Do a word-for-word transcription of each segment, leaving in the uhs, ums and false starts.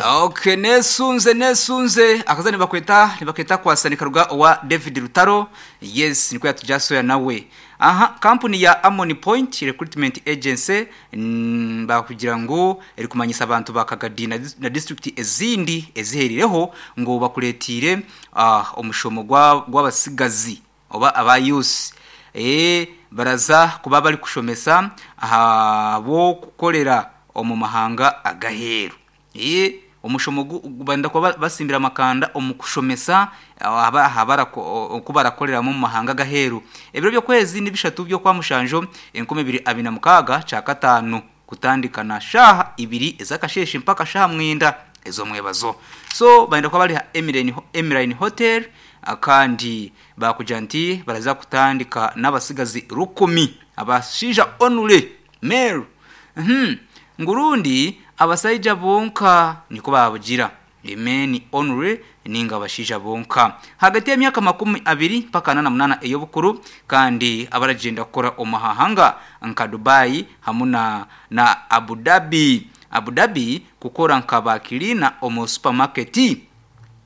Okay, nesunze nesunze akaza nibakweta nibakweta kwasa nikaruga owa David Rutaro. Yes, niko yatujasoya nawe. Aha, kampuni ya Amoni Point Recruitment Agency mm, bakugira ngo eri kumanyisa abantu bakagadi na, na district ezindi eziherireho ngo bakuletire uh, omushomo gwa gw'abasigazi oba abayusi eh baraza kuba bari kushomesa abo kukorera omu mahanga agaheru. eh omushomo banda kuba basimbira amakanda omu kushomesa aba habara kubarakorera mu mahanga gaheru. Ebiro byo kwezi nibishatu byo kwa mushanjo enkumi ibiri abiri na mukaga ca katanu, kutandika na shaha ibiri ezakasheshe mpaka shaha mwenda ezo mwebazo. So baenda kuba bari Emirene Emirene Hotel, akandi bakuja nti baraza kutandika n'abasigazi rukumi abashija onure male. mhm ngurundi abasaija bonka niko babugira emeni onure ninga abashija bonka hagati y'emyaka makumi abiri mpaka nana munana ey'obukuru, kandi abaragenda kukora omahahanga nka Dubai hamwe na, na Abu Dhabi Abu Dhabi kukora nka bakirina omu supermarket.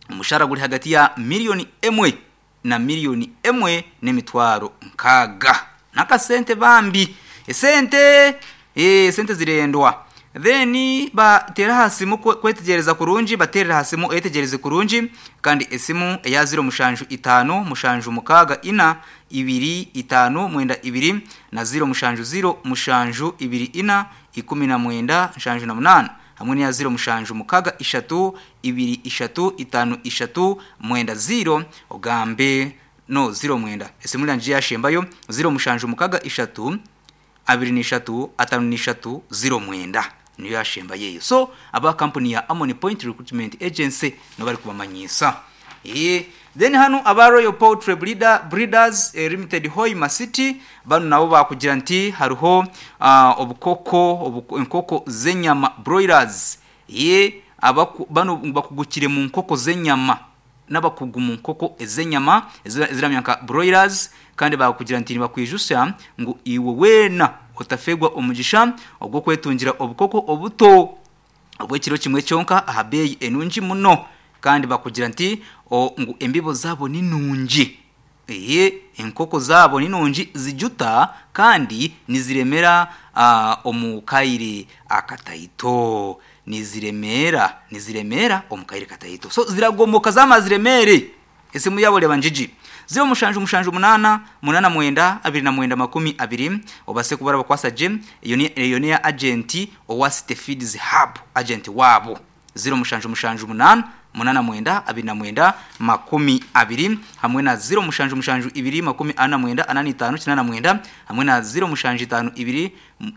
Umushahara guri hagati ya miliyoni emwe na miliyoni emwe n'emitwaro nkaga nakasente bambi esente eh sente zirendwa. Then batera hasimu kwetegereza kurungi, baterera hasimu etegereze kurungi, kandi esimu eya zero mushanju itano mushanju mukaga ina ibiri itano mwenda ibiri na zero mushanju zero mushanju ibiri ina ikumi na mwenda nshanju na munana, hamwe na zero mushanju mukaga ishatu ibiri ishatu itano ishatu mwenda zero ogambe no zero mwenda. Esimu yanje yashembayo zero mushanju mukaga ishatu abiri n'ishatu atanu n'ishatu zero mwenda niyo yashemba yeyo. So aba company ya Amoni Point Recruitment Agency no bari kubamanyisa. eh then hano aba Royal Poultry Breeder, Breeders eh, Limited Hoima City bano nabo bakugira nti hariho uh, obukoko obuko, enkoko zenyama broilers. Ye abaku, bano bakugukire mu nkoko zenyama n'abakugu mu nkoko ezenyama eziramya nka broilers, kandi bakugira nti bakwijusa ngo iwe wena otafegwa omugisha ogwo kwetungira obukoko obuto obwekiro kimwe kyonka aha beyi enungi muno, kandi bakugira nti ngo embibo zabo ni nungi, ehe enkoko zabo ni nungi zijuta kandi niziremera uh, omukaire akataito, niziremera niziremera omukaire kataito. So ziragomoka zamaziremere. Esimu yabo leba njiji zero mushanju mushanju munana munana mwenda abiri na mwenda makumi abiri obase kubara bakwasa gym. Iyo ni iyo ni agent owa City Feeds Hub agent wabo zero mushanju mushanju munana munana mwenda abiri na mwenda makumi abiri, hamwe na zero mushanju mushanju ibiri makumi ana mwenda anani itanu kinana mwenda, hamwe na zero mushanju itanu ibiri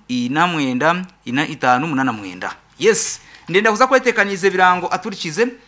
ina mwenda ina itanu munana mwenda. Yes, ndenda kuza kwetekanize birango aturikize.